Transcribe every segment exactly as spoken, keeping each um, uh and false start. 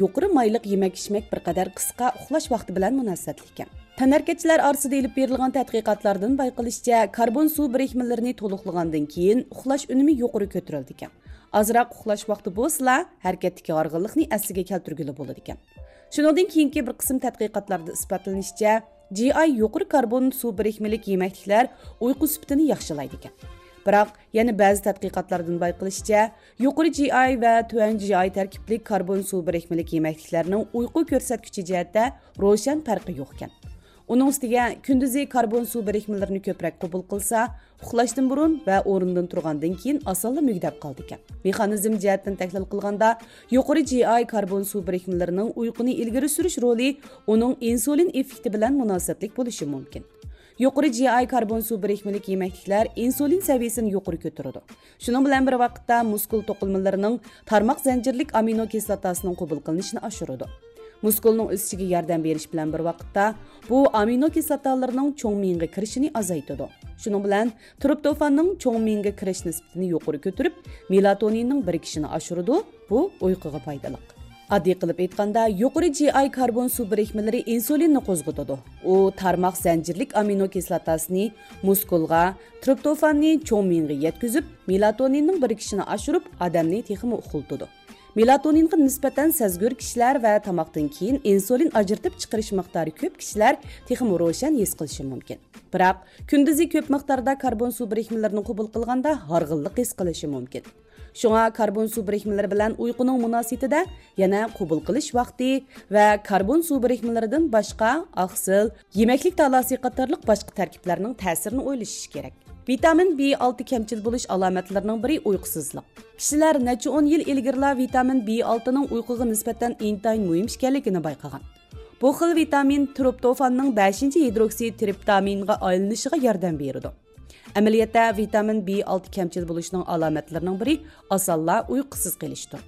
يۇقىرى مايلىق يېمەك-ئىچمەك بىر قەدەر قىسقا ئۇخلاش ۋاقتى بىلەن مۇناسىۋەتلىك ئىكەن. تەنھەرىكەتچىلەر ئارىسىدا ئېلىپ بېرىلغان تەتقىقاتلاردىن بايقىلىشىچە، كاربون سۇ بىرىكمىلىرىنى تولۇقلىغاندىن كېيىن ئۇخلاش ئۈنۈمى يۇقىرى كۆتۈرۈلىدىكەن. ئازراق ئۇخلاش ۋاقتى بولسىلا، ھەرىكەتتىكى ھارغىنلىقنى ئەسلىگە كەلتۈرگىلى بولىدىكەن. شۇنىڭدىن كېيىنكى بىر قىسىم تەتقىقاتلاردا ئىسپاتلىنىشىچە، جى ئاي يۇقىرى كاربون سۇ بىرىكمىلىك يېمەكلىكلەر ئۇيقۇ سۈپىتىنى ياخشىلايدىكەن. بىراق، يەنە بەزى تەتقىقاتلاردىن بايقىلىشىچە، يۇقىرى جى ئاي ۋە تۆۋەن جى ئاي تەركىبلىك كاربون سۇ بىرىكمىلىك يېمەكلىكلەرنىڭ ئۇيقۇ كۆرسەتكۈچى جەھەتتە روشەن پەرقى يوقكەن. ئۇنىڭ ئۈستىگە، كۈندۈزى كاربون سۇ بىرىكمىلىرىنى كۆپرەك قوبۇل قىلسا، ئۇخلاشتىن بۇرۇن ۋە ئورنىدىن تۇرغاندىن كېيىن ئاسانلا مۈگدەپ قالىدىكەن. مېخانىزم جەھەتتىن تەھلىل قىلغاندا، يۇقىرى جى ئاي كاربون سۇ بىرىكمىلىرىنىڭ ئۇيقۇنى ئىلگىرى سۈرۈش رولى ئۇنىڭ ئىنسۇلىن ئېففېكتى بىلەن مۇناسىۋەتلىك بولۇشى مۇمكىن. يۇقىرى جى ئاي كاربون سۇ بىرىكمىلىك يېمەكلىكلەر ئىنسۇلىن سەۋىيەسىنى يۇقىرى كۆتۈرىدۇ. شۇنىڭ بىلەن بىر ۋاقىتتا، مۇسكۇل توقۇلمىلىرىنىڭ تارماق زەنجىرلىك ئامىنو كىسلاتاسىنىڭ قوبۇل قىلىنىشىنى ئاشۇرىدۇ. مۇسكۇلنىڭ ئۆسۈشىگە ياردەم بېرىش بىلەن بىر ۋاقىتتا، بۇ ئامىنو كىسلاتالىرىنىڭ چوڭ مېڭىگە كىرىشىنى ئازايتىدۇ. شۇنىڭ بىلەن، ترىپتوفاننىڭ چوڭ مېڭىگە كىرىش نىسبىتىنى يۇقىرى كۆتۈرۈپ، مېلاتونىننىڭ بىرىكىشىنى ئاشۇرىدۇ، بۇ ئۇيقۇغا پايدىلىق. ئاددىي قىلىپ ئېيتقاندا، يۇقىرى جى ئاي كاربون سۇ بىرىكمىلىرى ئىنسۇلىننى قوزغىتىدۇ. ئۇ تارماق زەنجىرلىك ئامىنو كىسلاتاسىنى مۇسكۇلغا، ترىپتوفاننى چوڭ مېڭىگە يەتكۈزۈپ، مېلاتونىننىڭ بىرىكىشىنى ئاشۇرۇپ، ئادەمنى تېخىمۇ ئۇخلىتىدۇ. مېلاتونىنغا نىسبەتەن سەزگۈر كىشىلەر ۋە تاماقتىن كېيىن ئىنسۇلىن ئاجرىتىپ چىقىرىش مىقدارى كۆپ كىشىلەر تېخىمۇ روشەن ھېس قىلىشى مۇمكىن. بىراق، كۈندۈزى كۆپ مىقداردا كاربون سۇ بىرىكمىلىرىنى قوبۇل قىلغاندا ھارغىنلىق ھېس قىلىشى مۇمكىن. شۇڭا كاربون سۇ بىرىكمىلىرى بىلەن ئۇيقۇنىڭ مۇناسىۋىتىدە يەنە قوبۇل قىلىش ۋاقتى ۋە كاربون سۇ بىرىكمىلىرىدىن باشقا ئاقسىل، يېمەكلىك تالاسى قاتارلىق باشقا تەركىبلەرنىڭ تەسىرىنى ئويلىشىش كېرەك. ۋىتامىن بى ئالتە كەمچىل بولۇش ئالامەتلىرىنىڭ بىرى ئۇيقۇسىزلىق. كىشىلەر نەچچە ئون يىل ئىلگىرىلا ۋىتامىن بى ئالتىنىڭ ئۇيقۇغا نىسبەتەن ئىنتايىن مۇھىم ئىكەنلىكىنى بايقىغان. بۇ خىل ۋىتامىن ترىپتوفاننىڭ بەشىنچى ھىدروكسىترىپتامىنغا ئايلىنىشىغا ياردەم بېرىدۇ. ئەمەلىيەتتە، ۋىتامىن بى ئالتە كەمچىل بولۇشنىڭ ئالامەتلىرىنىڭ بىرى ئاسانلا ئۇيقۇسىز قېلىشتۇر.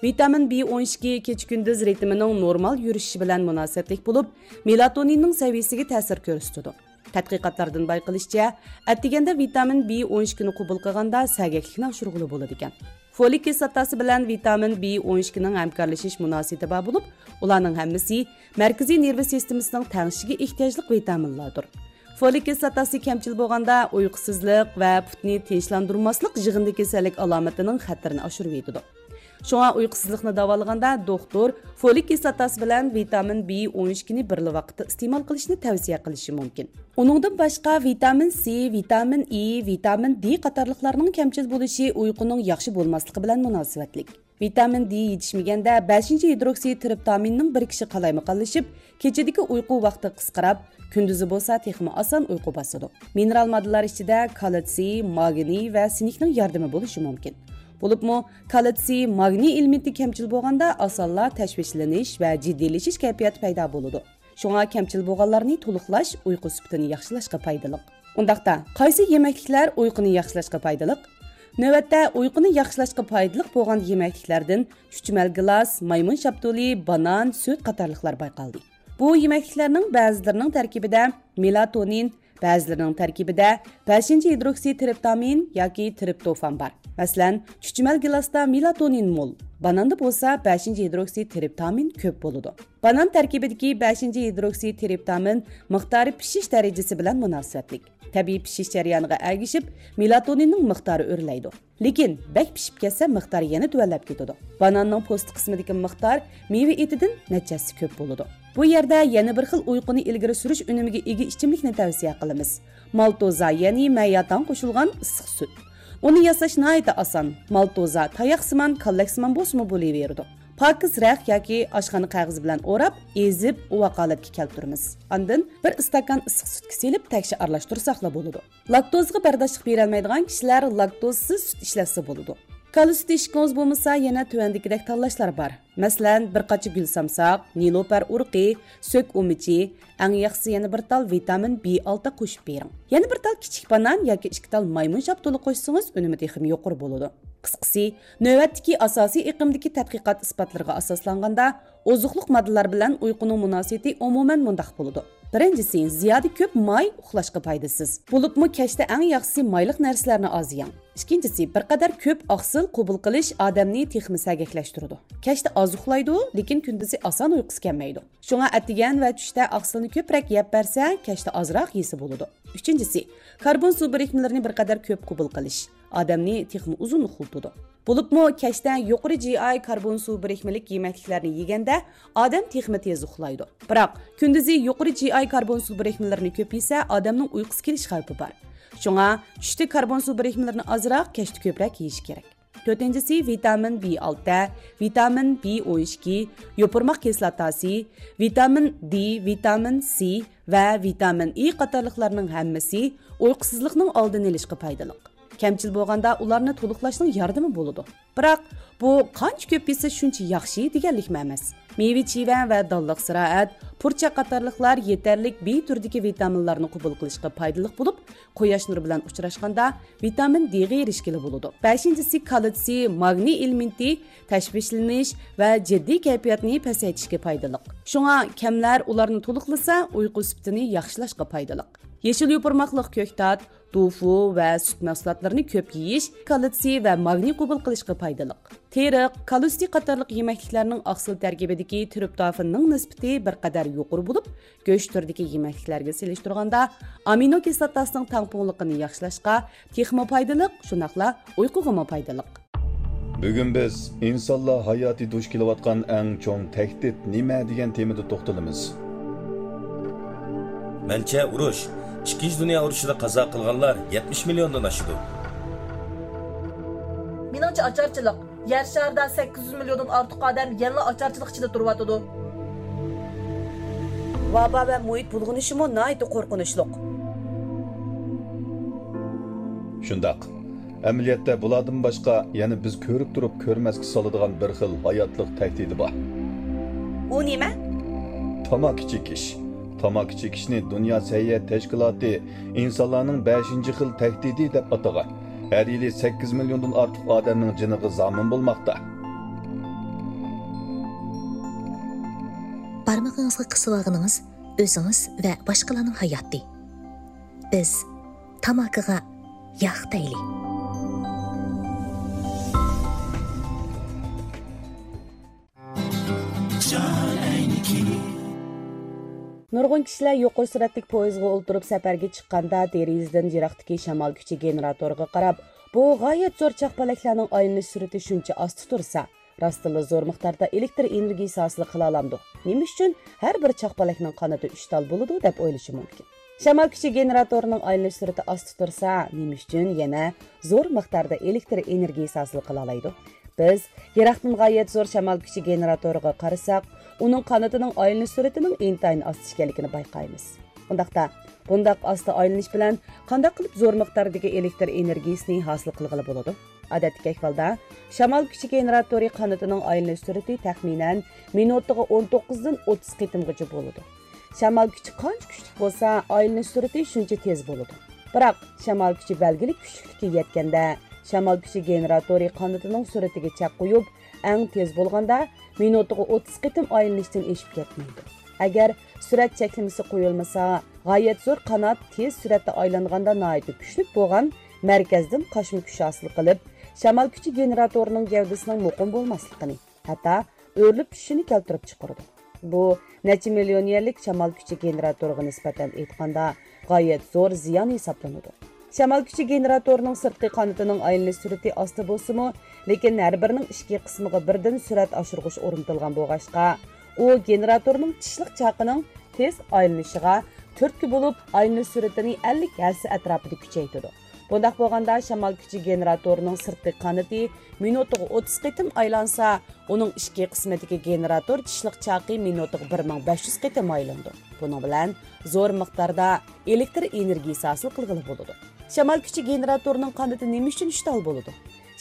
ۋىتامىن بى ئون ئىككى كېچە-كۈندۈز رىتىمىنىڭ نورمال يۈرۈشۈشى بىلەن مۇناسىۋەتلىك بولۇپ، مېلاتونىننىڭ سەۋىيەسىگە تەسىر كۆرسىتىدۇ. تەتقىقاتلاردىن بايقىلىشىچە، ئەتىگەندە ۋىتامىن بى ئون ئىككىنى قوبۇل قىلغاندا سەگەكلىكنى ئاشۇرغىلى بولىدىكەن. فولىك كىسلاتاسى بىلەن ۋىتامىن بى ئون ئىككىنىڭ ھەمكارلىشىش مۇناسىۋىتى بار بولۇپ، ئۇلارنىڭ ھەممىسى مەركىزىي نېرۋا سىستېمىسىنىڭ تەڭشىشىگە ئېھتىياجلىق ۋىتامىنلاردۇر. فولىك كىسلاتاسى كەمچىل بولغاندا، ئۇيقۇسىزلىق ۋە پۇتنى تىنچلاندۇرماسلىق يىغىندى كېسەللىك ئالامىتىنىڭ خەتىرىنى ئاشۇرۇۋېتىدۇ. شۇڭا ئۇيقۇسىزلىقنى داۋالىغاندا، دوختۇر فولىك كىسلاتاسى بىلەن ۋىتامىن بى ئون ئىككىنى بىرلا ۋاقىتتا ئىستېمال قىلىشنى تەۋسىيە قىلىشى مۇمكىن. ئۇنىڭدىن باشقا، ۋىتامىن سى، ۋىتامىن ئى، ۋىتامىن دې قاتارلىقلارنىڭ كەمچىل بولۇشى ئۇيقۇنىڭ ياخشى بولماسلىقى بىلەن مۇناسىۋەتلىك. ۋىتامىن دې يېتىشمىگەندە، بەشىنچى ھىدروكسىترىپتامىننىڭ بىرىكىشى قالايمىقانلىشىپ، كېچىدىكى ئۇيقۇ ۋاقتى قىسقىراپ، كۈندۈزى بولسا تېخىمۇ ئاسان ئۇيقۇ باسىدۇ. مىنېرال ماددىلار ئىچىدە كالتسىي، ماگنىي ۋە سىنكنىڭ ياردىمى بولۇشى مۇمكىن. بولۇپمۇ، كالتسىي، ماگنىي ئېلېمېنتى كەمچىل بولغاندا ئاسانلا تەشۋىشلىنىش ۋە جىددىيلىشىش كەيپىياتى پەيدا بولىدۇ. شۇڭا كەمچىل بولغانلارنى تولۇقلاش ئۇيقۇ سۈپىتىنى ياخشىلاشقا پايدىلىق. ئۇنداقتا، قايسى يېمەكلىكلەر ئۇيقۇنى ياخشىلاشقا پايدىلىق؟ نۆۋەتتە، ئۇيقۇنى ياخشىلاشقا پايدىلىق بولغان يېمەكلىكلەردىن چۈچۈمەل گىلاس، مايمۇن شاپتۇلى، بانان، سۈت قاتارلىقلار بايقالدى. بۇ يېمەكلىكلەرنىڭ بەزىلىرىنىڭ تەركىبىدە مېلاتونىن، بەزىلىرىنىڭ تەركىبىدە بەشىنچى ھىدروكسىترىپتامىن ياكى ترىپتوفان بار. مەسىلەن، چۈچۈمەل گىلاستا مېلاتونىن مول، باناندا بولسا بەشىنچى ھىدروكسىترىپتامىن كۆپ بولىدۇ. بانان تەركىبىدىكى بەشىنچى ھىدروكسىترىپتامىن مىقدارى پىشىش دەرىجىسى بىلەن مۇناسىۋەتلىك. تەبىئىي پىشىش جەريانىغا ئەگىشىپ، مېلاتونىننىڭ مىقدارى ئۆرلەيدۇ. لېكىن بەك پىشىپ كەتسە، مىقدارى يەنە تۆۋەنلەپ كېتىدۇ. باناننىڭ پوستى قىسمىدىكى مىقدار مېۋە ئېتىدىن نەچچە ھەسسە كۆپ بولىدۇ. بۇ يەردە يەنە بىر خىل ئۇيقۇنى ئىلگىرى سۈرۈش ئۈنۈمىگە ئىگە ئىچىملىكنى تەۋسىيە قىلىمىز. مالتوزا، يەنى مەيياتاڭ قوشۇلغان ئىسسىق سۈت. ئۇنى ياساش ناھايىتى ئاسان. مالتوزا تاياقسىمان، كاللەكسىمان بولسىمۇ بولۇۋېرىدۇ. پاكىز رەخت ياكى ئاشخانا قەغىزى بىلەن ئوراپ، ئېزىپ، ئۇۋاق ھالەتكە كەلتۈرىمىز. ئاندىن بىر ئىستاكان ئىسسىق سۈتكە سېلىپ، تەكشى ئارىلاشتۇرساقلا بولىدۇ. لاكتوزىغا بەرداشلىق بېرەلمەيدىغان كىشىلەر لاكتوزسىز سۈت ئىشلەتسە بولىدۇ. كالا سۈتى ئىچكۈڭىز بولمىسا، يەنە تۆۋەندىكىدەك تاللاشلار بار. مەسىلەن، بىر قاچا گۈل سامساق، نېلۇپەر ئۇرۇقى، سۆك ئۇمىچى، ئەڭ ياخشىسى يەنە بىر تال ۋىتامىن بى ئالتە قوشۇپ بېرىڭ. يەنە بىر تال كىچىك بانان ياكى ئىككى تال مايمۇن شاپتۇلى قوشسىڭىز، ئۈنۈمى تېخىمۇ يۇقىرى بولىدۇ. قىسقىسى، نۆۋەتتىكى ئاساسىي ئېقىمدىكى تەتقىقات ئىسپاتلىرىغا ئاساسلانغاندا، ئوزۇقلۇق ماددىلار بىلەن ئۇيقۇنىڭ مۇناسىۋىتى ئومۇمەن مۇنداق بولىدۇ. بىرىنچىسى، زىيادە كۆپ ماي ئۇخلاشقا پايدىسىز. بولۇپمۇ كەچتە ئەڭ ياخشىسى مايلىق نەرسىلەرنى ئاز يەڭ. ئىككىنچىسى، بىر قەدەر كۆپ ئاقسىل قوبۇل قىلىش ئادەمنى تېخىمۇ سەگەكلەشتۈرىدۇ. كەچتە ئاز ئۇخلايدۇ، لېكىن كۈندۈزى ئاسان ئۇيقۇسى كەلمەيدۇ. شۇڭا ئەتىگەن ۋە چۈشتە ئاقسىلنى كۆپرەك يەپ بەرسە، كەچتە ئازراق يېسە بولىدۇ. ئۈچىنچىسى، كاربون سۇ بىرىكمىلىرىنى بىر قەدەر كۆپ قوبۇل قىلىش ئادەمنى تېخىمۇ ئۇزۇن ئۇخلىتىدۇ. بولۇپمۇ كەچتە يۇقىرى جى ئاي كاربون سۇ بىرىكمىلىك يېمەكلىكلەرنى يېگەندە ئادەم تېخىمۇ تېز ئۇخلايدۇ. بىراق، كۈندۈزى يۇقىرى جى ئاي كاربون سۇ بىرىكمىلىرىنى كۆپ يېسە، ئادەمنىڭ ئۇيقۇسى كېلىش خەۋپى بار. شۇڭا چۈشتە كاربون سۇ بىرىكمىلىرىنى ئازراق، كەچتە كۆپرەك يېيىش كېرەك. تۆتىنچىسى، ۋىتامىن بى ئالتە، ۋىتامىن بى ئون ئىككى، يوپۇرماق كىسلاتاسى، ۋىتامىن دې، ۋىتامىن سى ۋە ۋىتامىن ئې قاتارلىقلارنىڭ ھەممىسى ئۇيقۇسىزلىقنىڭ ئالدىنى ئېلىشقا پايدىلىق. كەمچىل بولغاندا ئۇلارنى تولۇقلاشنىڭ ياردىمى بولىدۇ. بىراق، بۇ قانچە كۆپ يېسە شۇنچە ياخشى دېگەنلىكمۇ ئەمەس. مېۋە-چىۋە ۋە دانلىق زىرائەت، پۇرچاق قاتارلىقلار يېتەرلىك بى تۈرىدىكى ۋىتامىنلارنى قوبۇل قىلىشقا پايدىلىق بولۇپ، قۇياش نۇرى بىلەن ئۇچراشقاندا ۋىتامىن دېغا ئېرىشكىلى بولىدۇ. بەشىنچىسى، كالتسىي، ماگنىي ئېلېمېنتى تەشۋىشلىنىش ۋە جىددىي كەيپىياتنى پەسەيتىشكە پايدىلىق. شۇڭا كەملەر ئۇلارنى تولۇقلىسا، ئۇيقۇ سۈپىتىنى ياخشىلاشقا پايدىلىق. يېشىل يوپۇرماقلىق كۆكتات، توفۇ ۋە سۈت مەھسۇلاتلىرىنى كۆپ يېيىش كالتسىي ۋە ماگنىي قوبۇل قىلىشقا پايدىلىق. تېرىق، كالتسىي قاتارلىق يېمەكلىكلەرنىڭ ئاقسىل تەركىبىدىكى ترىپتوفاننىڭ نىسبىتى بىر قەدەر يۇقىرى بولۇپ، گۆش تۈرىدىكى يېمەكلىكلەرگە سېلىشتۇرغاندا، ئامىنو كىسلاتاسىنىڭ تەڭپۇڭلۇقىنى ياخشىلاشقا تېخىمۇ پايدىلىق، شۇنداقلا ئۇيقۇغىمۇ پايدىلىق. بۈگۈن بىز ئىنسانلار ھاياتى دۇچ كېلىۋاتقان ئەڭ چوڭ تەھدىت نېمە دېگەن تېمىدا توختىلىمىز. مەنچە، ئۇرۇش، ئىككىنچى دۇنيا ئۇرۇشىدا قازا قىلغانلار يەتمىش مىليوندىن ئاشىدۇ. مېنىڭچە، ئاچارچىلىق. يەر شارىدا سەككىز يۈز مىليوندىن ئارتۇق ئادەم يەنىلا ئاچارچىلىق ئىچىدە تۇرۇۋاتىدۇ. ۋابا ۋە مۇھىت بۇلغىنىشىمۇ ناھايىتى قورقۇنچلۇق. شۇنداق. ئەمەلىيەتتە بۇلاردىن باشقا يەنە بىز كۆرۈپ تۇرۇپ كۆرمەسكە سالىدىغان بىر خىل ھاياتلىق تەھدىتى بار. ئۇ نېمە؟ تاماكا چېكىش. تاماكا چېكىشنى دۇنيا سەھىيە تەشكىلاتى ئىنسانلارنىڭ بەشىنچى خىل تەھدىتى دەپ ئاتىغان. ھەر يىلى سەككىز مىليوندىن ئارتۇق ئادەمنىڭ جېنىغا زامىن بولماقتا. بارمىقىڭىزغا قىسىۋالغىنىڭىز ئۆزىڭىز ۋە باشقىلارنىڭ ھاياتى. بىز تاماكىغا ياق دەيلى. نۇرغۇن كىشىلەر يۇقىرى سۈرئەتلىك پويىزغا ئولتۇرۇپ سەپەرگە چىققاندا، دېرىزىدىن يىراقتىكى شامال كۈچى گېنېراتورىغا قاراپ، بۇ غايەت زور چاقپەلەكلەرنىڭ ئايلىنىش سۈرئىتى شۇنچە ئاستا تۇرسا، راستتىنلا زور مىقداردا ئېلېكتر ئېنېرگىيىسى ھاسىل قىلالامدۇ؟ نېمە ئۈچۈن ھەر بىر چاقپەلەكنىڭ قانىتى ئۈچ تال بولىدۇ دەپ ئويلىشى مۇمكىن. شامال كۈچى گېنېراتورىنىڭ ئايلىنىش سۈرئىتى ئاستا تۇرسا، نېمە ئۈچۈن يەنە زور مىقداردا ئېلېكتر ئېنېرگىيىسى ھاسىل قىلالايدۇ؟ بىز يىراقتىن غايەت زور شامال كۈچى گېنېراتورىغا قارىساق، ئۇنىڭ قانىتىنىڭ ئايلىنىش سۈرئىتىنىڭ ئىنتايىن ئاستا ئىكەنلىكىنى بايقايمىز. ئۇنداقتا، بۇنداق ئاستا ئايلىنىش بىلەن قانداق قىلىپ زور مىقداردىكى ئېلېكتر ئېنېرگىيىسىنى ھاسىل قىلغىلى بولىدۇ؟ ئادەتتىكى ئەھۋالدا، شامال كۈچى گېنېراتورى قانىتىنىڭ ئايلىنىش سۈرئىتى تەخمىنەن مىنۇتىغا ئون توققۇزدىن ئوتتۇز قېتىمغىچە بولىدۇ. شامال كۈچى قانچە كۈچلۈك بولسا، ئايلىنىش سۈرئىتى شۇنچە تېز بولىدۇ. بىراق، شامال كۈچى بەلگىلىك كۈچلۈكلۈككە يەتكەندە، شامال كۈچى گېنېراتورى قانىتىنىڭ سۈرئىتىگە چەك قويۇپ، ئەڭ تېز بولغاندا مىنۇتىغا ئوتتۇز قېتىم ئايلىنىشتىن ئېشىپ كەتمەيدۇ. ئەگەر سۈرئەت چەكلىمىسى قويۇلمىسا، غايەت زور قانات تېز سۈرئەتتە ئايلانغاندا ناھايىتى كۈچلۈك بولغان مەركەزدىن قاچما كۈچ ھاسىل قىلىپ، شامال كۈچى گېنېراتورىنىڭ گەۋدىسىنىڭ مۇقىم بولماسلىقىنى، ھەتتا ئۆرۈلۈپ چۈشۈشىنى كەلتۈرۈپ چىقىرىدۇ. بۇ نەچچە مىليون يەرلىك شامال كۈچى گېنېراتورىغا نىسبەتەن ئېيتقاندا، غايەت زور زىيان ھېسابلىنىدۇ. شامال كۈچى گېنېراتورىنىڭ سىرتقى قانىتىنىڭ ئايلىنىش سۈرئىتى ئاستا بولسىمۇ، لېكىن ھەر بىرىنىڭ ئىككى قىسمىغا بىردىن سۈرئەت ئاشۇرغۇچ ئورنىتىلغان بولغاچقا، ئۇ گېنېراتورنىڭ چىشلىق چاقىنىڭ تېز ئايلىنىشىغا تۈرتكە بولۇپ، ئايلىنىش سۈرئىتىنى ئەللىك ھەسسە ئەتراپىدا كۈچەيتىدۇ. بۇنداق بولغاندا، شامال كۈچى گېنېراتورىنىڭ سىرتقى قانىتى مىنۇتىغا ئوتتۇز قېتىم ئايلانسا، ئۇنىڭ ئىچكى قىسمىدىكى گېنېراتور چىشلىق چاقى مىنۇتىغا بىر مىڭ بەش يۈز قېتىم ئايلىنىدۇ. بۇنىڭ بىلەن زور مىقداردا ئېلېكتر ئېنېرگىيىسى ھاسىل قىلغىلى بولىدۇ. شامال كۈچى گېنېراتورىنىڭ قانىتى نېمە ئۈچۈن ئۈچ تال بولىدۇ؟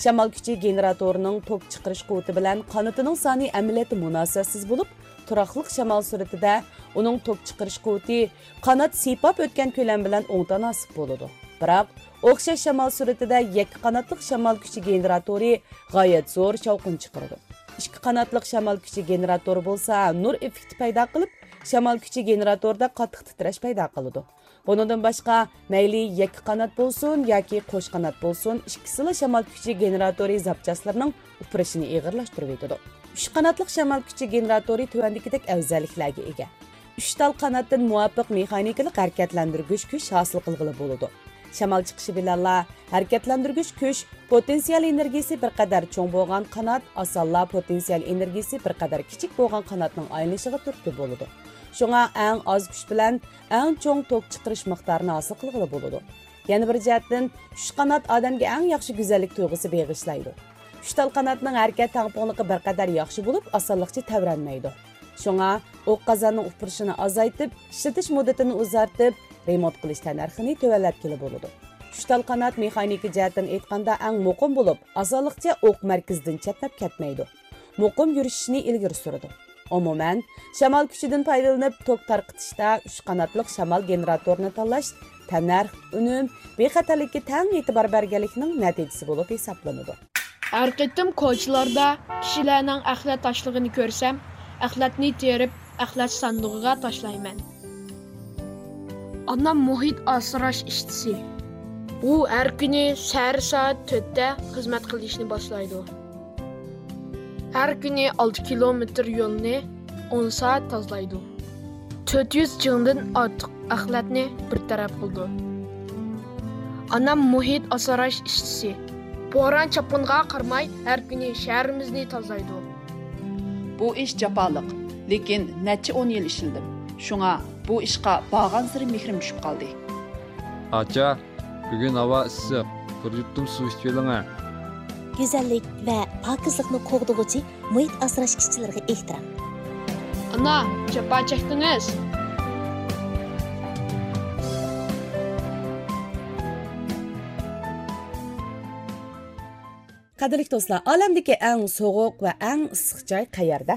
شامال كۈچى گېنېراتورىنىڭ توك چىقىرىش قۇۋۋىتى بىلەن قانىتىنىڭ سانى ئەمەلىيەتتە مۇناسىۋەتسىز بولۇپ، تۇراقلىق شامال سۈرئىتىدە ئۇنىڭ توك چىقىرىش قۇۋۋىتى قانات سىيپاپ ئۆتكەن كۆلەم بىلەن ئوڭ تاناسىپ بولىدۇ. بىراق، ئوخشاش شامال سۈرئىتىدە يەككە قاناتلىق شامال كۈچى گېنېراتورى غايەت زور شاۋقۇن چىقىرىدۇ. ئىككى قاناتلىق شامال كۈچى گېنېراتورى بولسا نۇر ئېففېكتى پەيدا قىلىپ، شامال كۈچى گېنېراتوردا قاتتىق تىترەش پەيدا قىلىدۇ. بۇنىڭدىن باشقا، مەيلى يەككە قانات بولسۇن ياكى قوش قانات بولسۇن، ئىككىسىلا شامال كۈچى گېنېراتورى زاپچاسلىرىنىڭ ئۇپرىشىنى ئېغىرلاشتۇرۇۋېتىدۇ. ئۈچ قاناتلىق شامال كۈچى گېنېراتورى تۆۋەندىكىدەك ئەۋزەللىكلەرگە ئىگە. ئۈچ تال قاناتتىن مۇۋاپىق مېخانىكىلىق ھەرىكەتلەندۈرگۈچ كۈچ ھاسىل قىلغىلى بولىدۇ. شامال چىقىشى بىلەنلا ھەرىكەتلەندۈرگۈچ كۈچ، پوتېنسىيال ئېنېرگىيىسى بىر قەدەر چوڭ بولغان قانات ئاسانلا پوتېنسىيال ئېنېرگىيىسى بىر قەدەر كىچىك بولغان قاناتنىڭ ئايلىنىشىغا تۈرتكە بولىدۇ. شۇڭا ئەڭ ئاز كۈچ بىلەن ئەڭ چوڭ توك چىقىرىش مىقدارىنى ھاسىل قىلغىلى بولىدۇ. يەنە بىر جەھەتتىن، ئۈچ قانات ئادەمگە ئەڭ ياخشى گۈزەللىك تۇيغۇسى بېغىشلايدۇ. ئۈچ تال قاناتنىڭ ھەرىكەت تەڭپۇڭلۇقى بىر قەدەر ياخشى بولۇپ، ئاسانلىقچە تەۋرەنمەيدۇ. شۇڭا ئوق قازاننىڭ ئۇپرىشىنى ئازايتىپ، ئىشلىتىش مۇددىتىنى ئۇزارتىپ، رېمونت قىلىش تەننەرخىنى تۆۋەنلەتكىلى بولىدۇ. ئۈچ تال قانات مېخانىكا جەھەتتىن ئېيتقاندا ئەڭ مۇقىم بولۇپ، ئاسانلىقچە ئوق مەركىزىدىن چەتنەپ كەتمەيدۇ. مۇقىم يۈرۈشۈشنى ئىلگىرى سۈرىدۇ. ئومۇمەن، شامال كۈچىدىن پايدىلىنىپ توك تارقىتىشتا ئۈچ قاناتلىق شامال گېنېراتورىنى تاللاش تەننەرخ، ئۈنۈم، بىخەتەرلىككە تەڭ ئېتىبار بەرگەنلىكنىڭ نەتىجىسى بولۇپ ھېسابلىنىدۇ. ھەر قېتىم كوچىلاردا كىشىلەرنىڭ ئەخلەت تاشلىغىنى كۆرسەم، ئەخلەتنى تېرىپ، ئەخلەت ساندۇقىغا تاشلايمەن. ئانام مۇھىت ئاسراش ئىشچىسى. ئۇ ھەر كۈنى سەھەر سائەت تۆتتە خىزمەت قىلىشنى باشلايدۇ. ھەر كۈنى ئالتە كىلومېتىر يولنى ئون سائەت تازىلايدۇ. تۆت يۈز جىڭدىن ئارتۇق ئەخلەتنى بىر تەرەپ قىلىدۇ. ئانام مۇھىت ئاسراش ئىشچىسى. بوران-چاپقۇنغا قارىماي، ھەر كۈنى شەھىرىمىزنى تازىلايدۇ. بۇ ئىش جاپالىق، لېكىن نەچچە ئون يىل ئىشلىدىم. شۇڭا بۇ ئىشقا بارغانسېرى مېھرىم چۈشۈپ قالدى. ئاچا، بۈگۈن ھاۋا ئىسسىق، بىر يۇتۇم سۇ ئىچىۋېلىڭە. گۈزەللىك ۋە پاكىزلىقنى قوغدىغۇچى مۇھىت ئاسراش ئىشچىلىرىغا ئېھتىرام. ئانا، جاپا چەكتىڭىز. قەدىرلىك دوستلار، ئالەمدىكى ئەڭ سوغۇق ۋە ئەڭ ئىسسىق جاي قەيەردە؟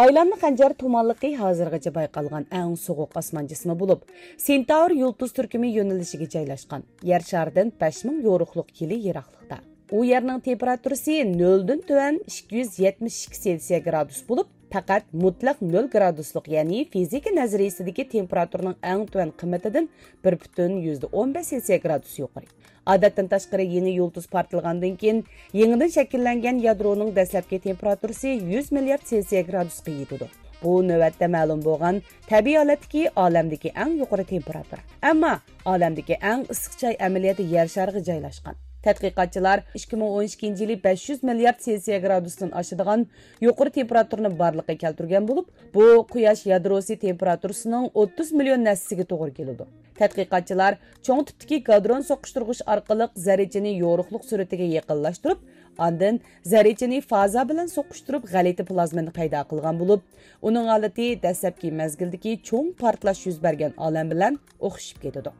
ئايلانما خەنجەر تۇمانلىقى ھازىرغىچە بايقالغان ئەڭ سوغۇق ئاسمان جىسمى بولۇپ، سېنتاۋر يۇلتۇز تۈركۈمى يۆنىلىشىگە جايلاشقان. يەر شارىدىن بەش مىڭ يورۇقلۇق يىلى يىراقلىقتا. ئۇ يەرنىڭ تېمپېراتۇرىسى نۆلدىن تۆۋەن ئىككى يۈز يەتمىش ئىككى سېلسىيە گرادۇس بولۇپ، پەقەت مۇتلەق نۆل گرادۇسلۇق، يەنى فىزىكا نەزەرىيىسىدىكى تېمپېراتۇرىنىڭ ئەڭ تۆۋەن قىممىتىدىن بىر پۈتۈن يۈزدە ئون بەش سېلسىيە گرادۇس يۇقىرى. ئادەتتىن تاشقىرى يېڭى يۇلتۇز پارتلىغاندىن كېيىن، يېڭىدىن شەكىللەنگەن يادرونىڭ دەسلەپكى تېمپېراتۇرىسى يۈز مىليارد سېلسىيە گرادۇسقا يېتىدۇ. بۇ نۆۋەتتە مەلۇم بولغان تەبىئىي ھالەتتىكى ئالەمدىكى ئەڭ يۇقىرى تېمپېراتۇرا. ئەمما ئالەمدىكى ئەڭ ئىسسىق جاي ئەمەلىيەتتە يەر شارىغا جايلاشقان. تەتقىقاتچىلار ئىككى مىڭ ئون ئىككىنچى يىلى بەش يۈز مىليارد سېلسىيە گرادۇستىن ئاشىدىغان يۇقىرى تېمپېراتۇرىنى بارلىققا كەلتۈرگەن بولۇپ، بۇ قۇياش يادروسى تېمپېراتۇرىسىنىڭ ئوتتۇز مىليون ھەسسىسىگە توغرا كېلىدۇ. تەتقىقاتچىلار چوڭ تىپتىكى گادرون سوقۇشتۇرغۇچ ئارقىلىق زەررىچىنى يورۇقلۇق سۈرئىتىگە يېقىنلاشتۇرۇپ، ئاندىن زەررىچىنى فازا بىلەن سوقۇشتۇرۇپ، غەلىتە پلازمىنى پەيدا قىلغان بولۇپ، ئۇنىڭ ھالىتى دەسلەپكى مەزگىلدىكى چوڭ پارتلاش يۈز بەرگەن ئالەم بىلەن ئوخشىشىپ كېتىدۇ.